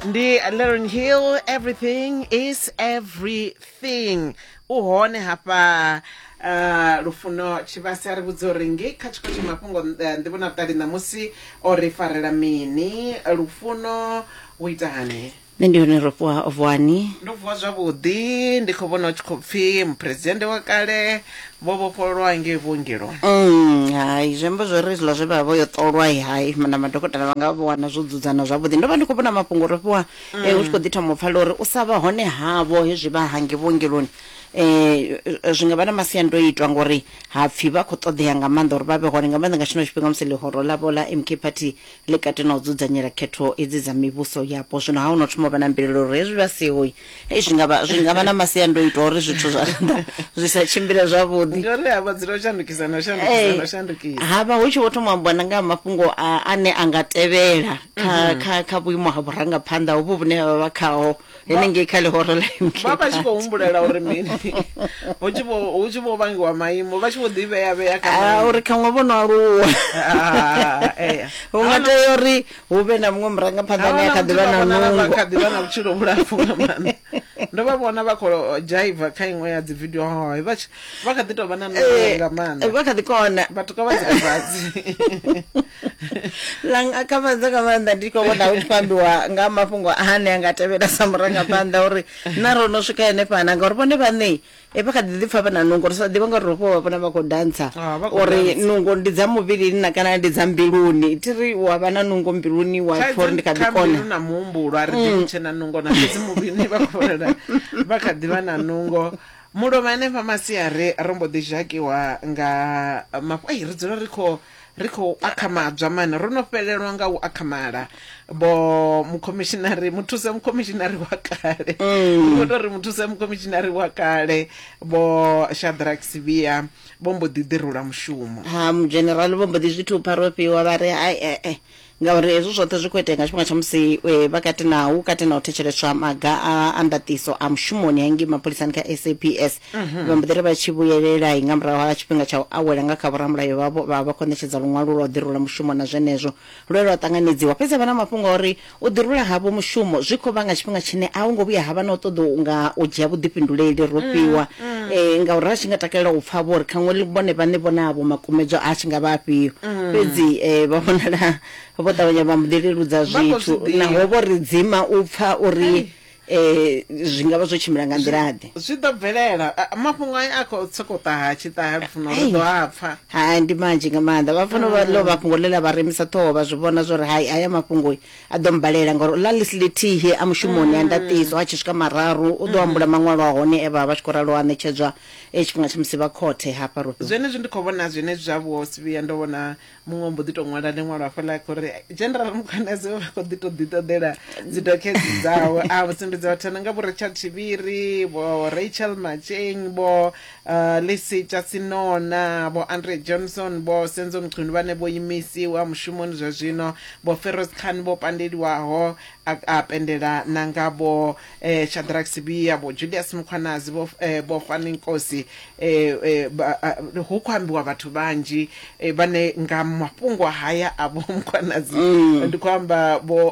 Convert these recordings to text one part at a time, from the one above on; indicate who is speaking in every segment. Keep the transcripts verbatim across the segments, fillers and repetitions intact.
Speaker 1: Ndi Lauryn Hill, "Everything Is Everything". U hone hafha uh, Lufuno Tshivhase, a ri vhudza uri ngei kha tshiko tsha mafhungo, eh, nḓivho na vhuṱali ṋamusi o ri farela mini. Lufuno, u ita hani?
Speaker 2: Nṋe ndi hone, ro fhiwa vuwani.
Speaker 1: Ndo vuwa zwavhuḓi. Ndi khou vhona u tshi khou pfhi muphuresidennde wa kale vho vhofhololwa ngei vhuongeloni.
Speaker 2: Mm, hai zwi amba zwori hezwiḽa zwe vha vha vho yo ṱolwa, hai na madokotela vha nga vho wana zwo dzudzana zwavhuḓi. Ndo vha ndi khou vhona mafhungo, ro fhiwa, eh, hu tshi khou ḓi thoma u pfala uri u sa vha hone havho hezwi vha hange vhuongeloni eh zwi nga vha na masiandoitwa, ngori ha pfhi vha khou ṱoḓea nga maanḓa uri vha vhe hone, nga maanḓa nga tshino tshifhinga musi ḽihoro ḽavho ḽa M K Party ḽi kati na u dzudzanyela khetho idzi dza mivhuso yapo. Zwino ha ho no thoma u vha na mbilaelo uri hezwi vha siho, hei, zwi nga vha zwi nga vha na masiandoitwa uri zwithu zwa zwi sa tshimbile zwavhuḓi.
Speaker 1: Ndi uri havha dzula u shandukisa na u shandukisa na u shandukisa.
Speaker 2: Ha vha hu tshi vho thoma u ambiwa na nga ha mafhungo a- ane a nga tevhela kha kha kha vhuimo ha vhurangaphanḓa hovhu vhune vha vha khaho henengei kha ḽihoro ḽa M K
Speaker 1: Vha vha tshi khou
Speaker 2: Party.
Speaker 1: humbulela uri mini, hu tshi vho hu tshi vho vhangiwa maimo, vha tshi vho ḓivhea vhea kha
Speaker 2: Ah,
Speaker 1: maimo.
Speaker 2: Uri khaṅwe vho no aluwa,
Speaker 1: Ah, eya.
Speaker 2: hu nga tea uri hu vhe na muṅwe murangaphanḓa ane a kha ḓi vha na
Speaker 1: vha
Speaker 2: nungo.
Speaker 1: Kha ḓi vha na vhutshilo vhulapfu nga maanḓa. Ndo vha vhona vha khou dzhaiva kha iṅwe ya dzi video, hoi vha tshi- vha kha ḓi tou vha na nungo
Speaker 2: Eh,
Speaker 1: nga maanḓa.
Speaker 2: Vha kha ḓi kona.
Speaker 1: Vhathu kha vha dzule fhasi.
Speaker 2: Lang kha nga maanḓa. Ndi khou vhona hu tshi khou ambiwa nga mafhungo ane a nga tevhela sa murangaphanḓa, uri na ro no swika henefhana, ngauri vhone vhaṋe e vha kha ḓi ḓipfa vha na nungo. Ri sa ḓivha ngauri ro vha vhona vha khou dantsa,
Speaker 1: Ah, vha khou
Speaker 2: uri
Speaker 1: dantsa.
Speaker 2: Nungo ndi dza muvhilini na kana ndi dza mbiluni? Thi ri wa vha na nungo mbiluni, wa pfa uri ndi kha ḓi
Speaker 1: Kha
Speaker 2: kona.
Speaker 1: mbilu na muhumbulo a ri ḓivhi tshe na nungo na, fhedzi muvhilini vha khou vhonala vha kha ḓivha na nungo. Mulovha henefha masiari ro mbo ḓi zhakiwa nga mafhu. Ei, ri dzula ri khou ri khou akhamadzwa mani, ro no fhelelwa nga u akhamala. Vho mukhomishinari, muthusa mukhomishinari wa kale, ndi khou tou ri muthusa mukhomishinari wa kale, Vho Shadrack Sibiya, vho mbo ḓi ḓirula mushumo.
Speaker 2: Ha mudzhenerali vho mbo ḓi zwi thupha, ro fhiwa, vha ri hai, eh, eh. Ngauri hezwo zwoṱhe zwi khou itea nga tshifhinga tsha musi eh, vha kati na hu kati na u thetsheleswa maga a a ndaṱiso a mushumoni hangei mapholisani kha S A P S. Vha mbo ḓi ri vha tshi vhuyelela nga murahu ha tshifhinga tsha u awela nga kha vhoramulayo vhavho, vha vha khou ṋetshedza luṅwalo lwa u ḓirula mushumo, na zwenezwo lwe lwa ṱanganedziwa. Fhedzi vha na mafhungo a uri u ḓirula havho mushumo zwi khou vha nga tshifhinga tshine a hu ngo vhuya ha vha na u ṱoḓa nga u dzhia vhuḓifhinduleli, ro fhiwa, eh, ngauri ra tshi nga takalela u pfa vho uri khaṅwe vhone vhaṋe vhona avho makumedzwa a tshi nga vha afhio. Fhedzi eh, vha vhonala vho ṱavhanya vha mbo ḓi leludza
Speaker 1: Vha khou
Speaker 2: zwithu,
Speaker 1: zwi ḓivha.
Speaker 2: Naho vho ri dzima u pfa uri eh, zwi nga vha zwo tshimbila nga nḓila-ḓe.
Speaker 1: Zwi ḓo bvelela. A- mafhungo aya a khou sokou ṱaha tshi ṱaha, Lufuno, ri ḓo a pfa.
Speaker 2: Hai, ndi manzhi nga maanḓa. Vha fanela vha ḽo vha fhungo ḽe ḽa vha remisa ṱhoho, vha zwi vhona zwori hai, haya mafhungo a ḓo mbalela, ngauri ḽa ḽisi ḽithihi a mushumoni a ndaṱiso, a tshi swika mararu u ḓo ambula maṅwalo a hone e vha vha tshi khou ralo a ṋetshedzwa e tshifhinga tsha musi vha khothe hafha ro fhiwa.
Speaker 1: Zwenezwi ndi khou vhona zwenezwi zwa vho Sibiya, ndo vhona muṅwe mbo ḓi tou ṅwala ḽiṅwalo hafhaḽa uri General Mkhwanazi vha khou ḓi tou ḓi ṱoḓela dzi dokhedzi dzawe, a sumbedza vhathu nga vho Richard Chiviri, vho Rachel Macheng, vho uh, Lisi Chasinona, vho Andre Johnson, vho Senzo Mchunu vhane vho imisiwa mushumoni zwa zwino, vho Feroz Khan vho pandeliwaho, a, a pendela na nga vho eh, Shadrack Sibiya, vho Julius Mkhwanazi, vho eh, vho Fani Nkosi. eh, eh, ba, a, hu khou ambiwa vhathu vhanzhi eh, vhane nga mafhungo haya a vho Mkhwanazi. Ndi khou amba vho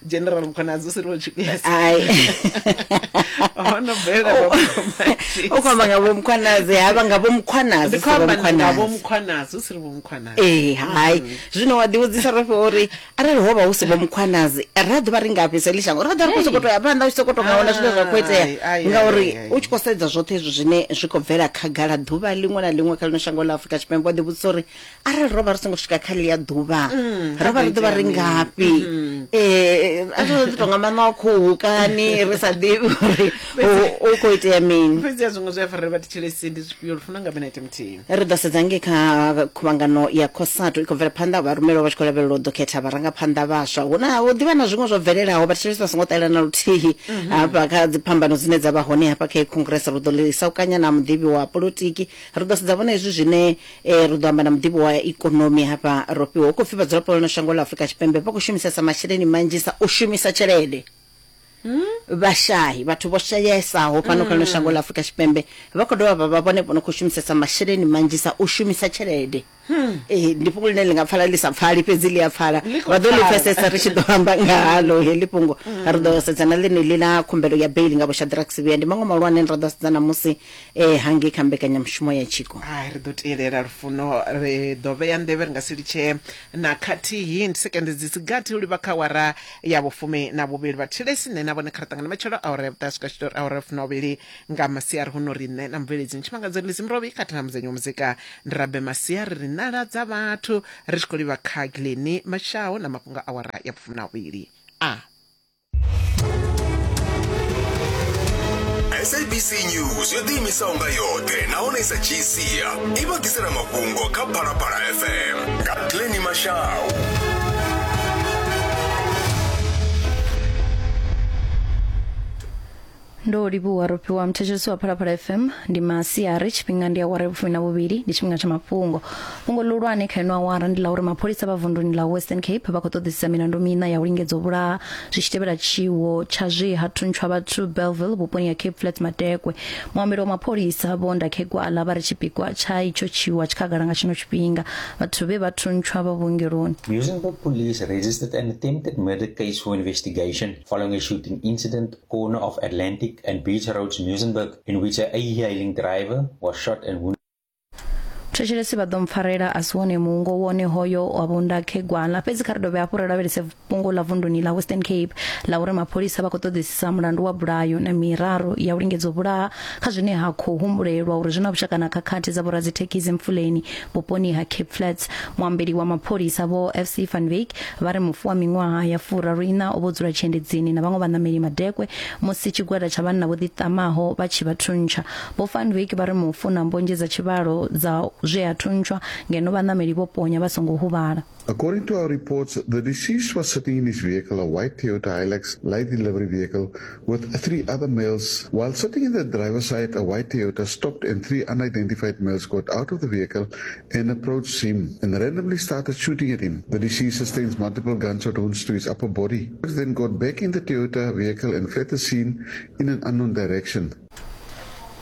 Speaker 1: General Mkhwanazi, u si ri vho Julius.
Speaker 2: Ai.
Speaker 1: Ho no bvelela mafhungo manzhi.
Speaker 2: U khou amba nga vho Mkhwanazi, havha nga vho Mkhwanazi,
Speaker 1: Ndi
Speaker 2: si
Speaker 1: khou
Speaker 2: vho
Speaker 1: amba nga vho
Speaker 2: Mkhwanazi.
Speaker 1: Mkhwanazi, u si ri vho Mkhwanazi.
Speaker 2: Ee, hai, zwino wa ḓivhudzisa, ro fhiwa, uri arali ho vha hu si vho Mkhwanazi, ra ḓo vha ri ngafhi sa ḽi shango? Ra ḓo ri khou sokou tou ya phanḓa u tshi sokou tou nga wana zwine zwa khou itea?
Speaker 1: Ai, ai,
Speaker 2: Ngauri
Speaker 1: ai, ai.
Speaker 2: u tshi khou sedza zwoṱhe hezwi zwine zwi khou bvela khagala ḓuvha ḽiṅwe na ḽiṅwe kha ḽino shango ḽa Afrika Tshipembe, wa ḓivhudzisa uri arali ro vha ri songo swika kha ḽia ḓuvha, ro vha ri ḓo vha ri ngafhi? um a ri ḓo tou nga maṋo a khuhu kani, ri sa ḓivhi uri hu hu khou itea mini.
Speaker 1: Fhedzi ya zwiṅwe zwi a farela vhathetshelesi ndi zwifhio, Lufuno, nga minete muthihi?
Speaker 2: Ri ḓo sedza ngei kha khuvhangano ya COSATU i khou bvela phanḓa, vharumelwa vha tshi khou lavhelelwa u ḓo khetha vharangaphanḓa vhaswa. Hu na hu ḓivha na zwiṅwe zwo bvelelaho, vhathetshelesi vha songo ṱalela na luthihi hafha kha dziphambano dzine dza vha hone hafha kha congress. Ri ḓo ḽi saukanya na muḓivhi wa polotiki, ri ḓo sedza vhona hezwi zwine eh, ri ḓo amba na muḓivhi wa ikonomi hafha, ro fhiwa. Hu khou pfhi vhadzulapo vha ḽino shango ḽa Afrika Tshipembe vha khou shumisesa masheleni manzhisa u shumisa tshelede. Vhashayi, vhathu vho shayesaho fhano kha ḽino shango ḽa Afrika Tshipembe, vha khou dovha vha vha vhone vho no khou shumisesa masheleni manzhisa u shumisa tshelede. Ee, ndi fhungo ḽine ḽi nga pfala ḽi sa pfali, fhedzi ḽi a pfala, vha ḓo ḽi pfesesa ri tshi ḓo amba nga halo heḽi fhungo. Ri ḓo sedza na ḽeneḽi ḽa khumbelo ya beili nga vho Shadrack Sibiya. Ndi maṅwe mahulwane ra ḓo sedza namusi eh, hangei kha mbekanyamushumo ya tshiko.
Speaker 1: Ai, ri ḓo tielela Lufuno, ri ḓo vhea nḓevhe, ri nga si litshe na khathihi. Ndi sekende dzi si gathi u livha kha awara ya vhufumi na vhuvhili. Vhathetshelesi, nṋe na vhone kha ri ṱangane matshelo awara ya vhuṱahe swika tshitori awara ya fumi na vhuvhili nga masiari. Huno ri nṋe na mubveledzi Ntshimangadzo Lizzy Murovhi khathihi na mudzenyi wa muzika ndi Rabe Masia, ri ri nala dza vhathu ri tshi khou livha kha Glennie Mashao na mafhungo a awara ya vhufumi na vhuvhili. A
Speaker 3: S A B C News yo ḓiimisaho nga yoṱhe nahone i sa dzhii sia i vha ḓisela mafhungo kha Phalaphala F M nga Glennie Mashao.
Speaker 4: Ndo livhuwa Rofhiwa muthetshelesi wa Phalaphala F M. Ndi masiari, tshifhinga ndi awara ya vhufumi na vhuvhili, ndi tshifhinga tsha mafhungo. Fhungo ḽihulwane kha ino awara ndi ḽa uri mapholisa vha vunduni ḽa Western Cape vha khou ṱoḓisisa milandu miṋa ya u lingedza u vhulaha zwi tshi tevhela tshiwo tsha zwe ha thuntshwa vhathu Bellville vhuponi ha Cape Flats Madekwe. Muambeli wa mapholisa Vho Ndakhegwala vha ri tshipikwa tsha itsho tshiwo tshi khagala nga tshino tshifhinga. Vhathu vhe vha thuntshwa vha vhuongeloni.
Speaker 5: Muizenberg police registered an attempted murder case for investigation following a shooting incident corner of Atlantic and Beach Roads, Muizenberg, in which a e-hailing driver was shot and wounded.
Speaker 4: Thetshelesi vha ḓo mpfarela a si wone muungo wone hoyo wa Vho Ndakhegwala. Fhedzi kha ri dovhe hafhu ri lavhelese fhungo ḽa vunduni ḽa Western Cape ḽa uri mapholisa vha khou ṱoḓisisa mulandu wa bulayo na miraru ya u lingedza u vhulaha kha zwine ha khou humbulelwa uri zwi na vhushaka na khakhathi dza vhoradzithekhisi Mfuleni vhuponi ha Cape Flats. Muambeli wa mapholisa Vho F C Van Wyk vha ri mufu wa miṅwaha ya furaru iṋa o vho dzula tshiendedzini na vhaṅwe vhaṋameli Madekwe musi tshigwada tsha vhanna vho ḓiṱamaho vha tshi vha thuntsha. Vho Van Wyk vha ri mufu na mbonzhe dza tshivhalo dza zwe a thuntshwa ngeno vhaṋameli vho ponya vha songo huvhala.
Speaker 6: According to our reports, the deceased was sitting in his vehicle, a white Toyota Hilux light delivery vehicle, with three other males. While sitting in the driver's side, a white Toyota stopped and three unidentified males got out of the vehicle and approached him and randomly started shooting at him. The deceased sustained multiple gunshot wounds to his upper body. Then got back in the Toyota vehicle and fled the scene in an unknown direction.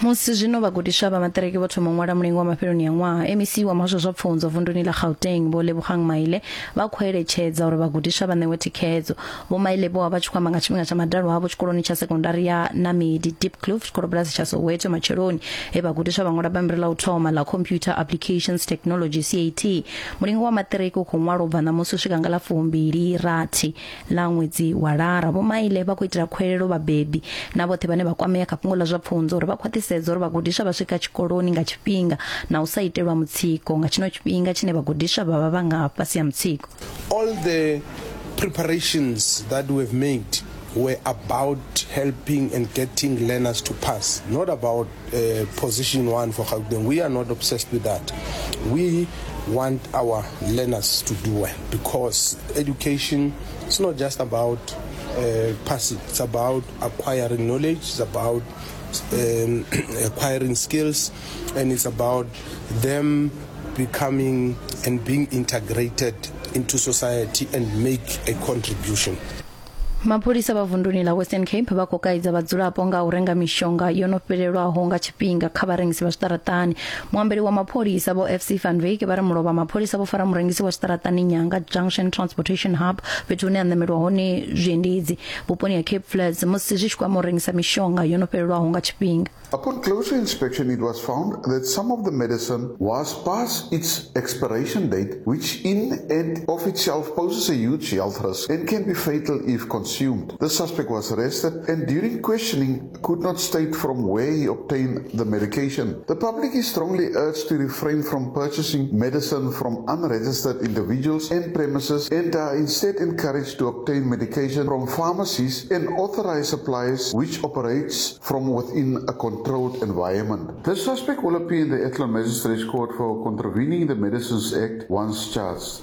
Speaker 4: Musi zwino vhagudiswa vha maṱiriki vho thoma u ṅwala mulingo wa mafheloni ya ṅwaha, M E C wa muhasho zwa pfunzo vunduni ḽa Gauteng Vho Lebogang Maile vha khou eletshedza uri vhagudiswa vha ṋewe thikhedzo. Vho Maile vho vha vha tshi khou amba nga tshifhinga tsha madalo avho tshikoloni tsha sekondari ya Namedi Diepkloof tshikolobulasi tsha Soweto matsheloni, he vhagudiswa vha ṅwala bammbiri ḽa u thoma ḽa Computer Applications Technology C A T. Mulingo wa maṱiriki u khou ṅwalwa u bva ṋamusi u swika nga ḽa fumbili rathi ḽa ṅwedzi wa Lara. Vho Maile vha khou itela khuwelelo vhabebi na vhoṱhe vhane vha kwamea kha fhungo ḽa zwa pfunzo uri vha khwaṱhisedza uri vhagudiswa vha swika tshikoloni nga tshifhinga na u sa itelwa mutsiko nga tshino tshifhinga tshine vhagudiswa vha vha vha nga fhasi ha mutsiko.
Speaker 7: All the preparations that we've made were about helping and getting learners to pass, not about uh, position one for Gauteng. We are not obsessed with that. We want our learners to do well, because education is not just about uh, passing. It's about acquiring knowledge. It's about um, acquiring skills, and it's about them becoming and being integrated into society and make a contribution.
Speaker 4: Mapholisa vha vunduni ḽa Western Cape vha khou kaidza vhadzulapo nga u renga mishonga yo no fhelelwaho nga tshifhinga kha vharengisi vha zwiṱaraṱani. Muambeli wa mapholisa Vho F C Van Wyk vha ri mulovha mapholisa vho fara murengisi wa zwiṱaraṱani Nyanga Junction Transportation Hub, fhethu hune ha ṋamelwa hone zwiendedzi vhuponi ha Cape Flats, musi zwi tshi kwama u rengisa mishonga yo no fhelelwaho nga tshifhinga.
Speaker 6: Upon closer inspection, it was found that some of the medicine was past its expiration date, which in and of itself poses a huge health risk and can be fatal if consumed. The suspect was arrested and during questioning could not state from where he obtained the medication. The public is strongly urged to refrain from purchasing medicine from unregistered individuals and premises and are instead encouraged to obtain medication from pharmacies and authorized suppliers which operates from within a controlled environment. The suspect will appear in the Athlone Magistrates Court for contravening the Medicines Act once charged.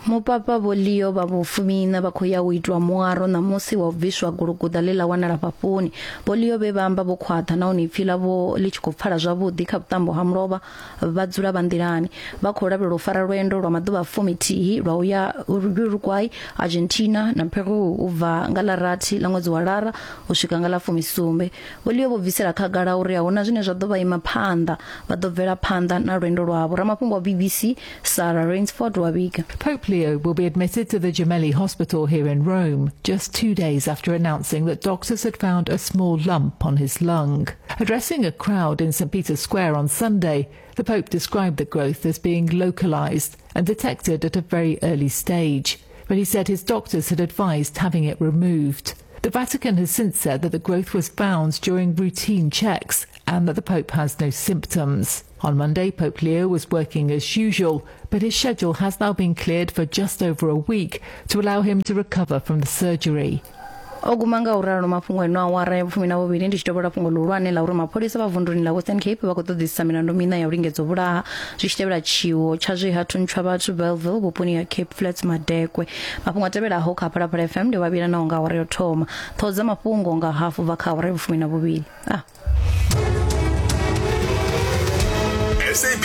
Speaker 4: Mupapa Vho Leo vha vhufumiiṋa vha khou ya u itwa muaro ṋamusi wa u bviswa guluguḓa ḽe ḽa wanala fhafhuni. Vho Leo vhe vha amba vho khwaṱha nahone ipfi ḽavho ḽi tshi khou pfala zwavhuḓi kha vhuṱambo ha mulovha vha dzula vha nḓilani. Vha khou lavhelelwa u fara lwendo lwa maḓuvha fumithihi lwa u ya Uruguay, Argentina na Peru u bva nga ḽa rathi ḽa ṅwedzi wa Lara u swika nga ḽa fumisumbe. Vho Leo vho bvisela khagala uri a huna zwine zwa ḓo vha ima phanḓa, vha ḓo bvela phanḓa na lwendo lwavho. Ramafhungo wa B B C Sarah Rainsford wa vhiga.
Speaker 8: Pope Leo will be admitted to the Gemelli Hospital here in Rome just two days after announcing that doctors had found a small lump on his lung. Addressing a crowd in Saint Peter's Square on Sunday, the Pope described the growth as being localized and detected at a very early stage, but he said his doctors had advised having it removed. The Vatican has since said that the growth was found during routine checks and that the Pope has no symptoms. On Monday, Pope Leo was working as usual, but his schedule has now been cleared for just over a week to allow him to recover from the surgery.
Speaker 4: O guma nga u ralo mafhungo eno awara ya vhufumi na vhuvhili ndi tshi tovhola fhungo ḽihulwane ḽa uri mapholisa vha vunduni ḽa Western Cape vha khou ṱoḓisisa milandu miṋa ya u lingedza u vhulaha zwi tshi tevhela tshiwo tsha zwe ha thuntshwa vhathu Bellville vhuponi ha Cape Flats Madekwe. Mafhungo a tevhelaho kha Phalaphala F M ndi vhavhila naho nga awara yo thoma. Ṱhoho dza mafhungo nga hafu bva kha awara ya vhufumi na vhuvhili. Ah.
Speaker 3: S A B